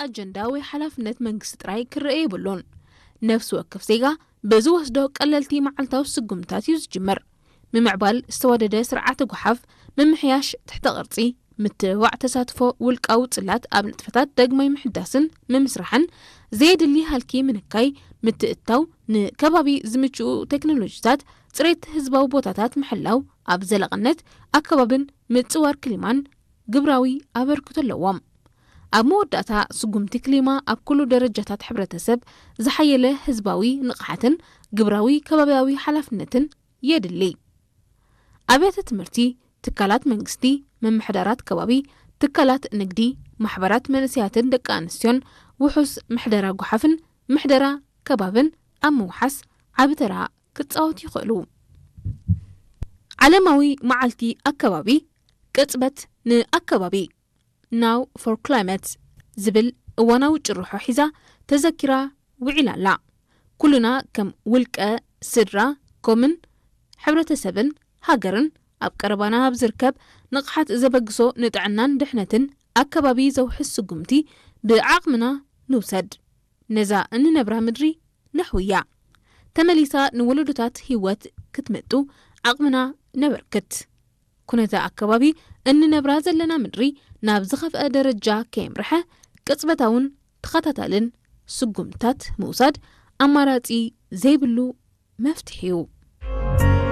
ኣጀንዳ ወይ ሓላፍነት መንግስቲ ጥራይ ክረአ የብሉን። ነፍሲ ወከፍ ዜጋ ብዝወስዶ ቀለልቲ መዓልታዊ ስጉምታት እዩ ዝጅምር። ምምዕባል ዝተዋደደ ስርዓተ ጓሓፍ፣ ምምሕያሽ ትሕተ ቅርጺ፣ ምትብባዕ ተሳትፎ ውልቃዊ ጽላት ኣብ ንጥፈታት ዳግማይ ምሕዳስን ምምስራሕን፣ ዘየድሊ ሃልኪ ምንካይ፣ ምትእትታው ንከባቢ ዝምችኡ ቴክኖሎጂታት፣ ጽሬት ህዝባዊ ቦታታት ምሕላው፣ ኣብ ዘለቕነት ኣከባብን ምጽዋር ክሊማን ግብራዊ ኣበርክቶ ኣለዎም። ኣብ መወዳእታ፣ ስጉምቲ ክሊማ ኣብ ኩሉ ደረጃታት ሕብረተሰብ ዝሓየለ ህዝባዊ ንቕሓትን ግብራዊ ከባብያዊ ሓላፍነትን የድሊ። ኣብያተ ትምህርቲ፣ ትካላት መንግስቲ፣ ምምሕዳራት ከባቢ፣ ትካላት ንግዲ፣ ማሕበራት መንእሰያትን ደቂ ኣንስትዮን ውሑስ ምሕደራ ጓሓፍን ምሕደራ ከባብን ኣብ ምውሓስ ዓቢ ተራ ክጻወቱ ይኽእሉ። ዓለማዊ መዓልቲ ኣከባቢ፣ ቅጽበት ንኣከባቢ፣ Now for Climate ዝብል እዋናዊ ጭርሖ ሒዛ ተዘኪራ ውዒላ ኣላ። ኩልና ከም ውልቀ፣ ስድራ፣ ኮምን፣ ሕብረተሰብን ሃገርን ኣብ ቀረባና ኣብ ዝርከብ ንቕሓት ዘበግሶ ንጥዕናን ድሕነትን ኣከባቢ ዘውሕስ ስጉምቲ ብዓቕምና ንውሰድ። ነዛ እንነብራ ምድሪ ነሕውያ። ተመሊሳ ንወለዶታት ህይወት ክትመጡ ዓቕምና ነበርክት። ኩነተ ኣከባቢ እንነብራ ዘለና ምድሪ ናብ ዝኸፍአ ደረጃ ከየምርሐ ቅጽበታውን ተኸታታልን ስጉምታት ምውሳድ ኣማራጺ ዘይብሉ መፍትሒ እዩ።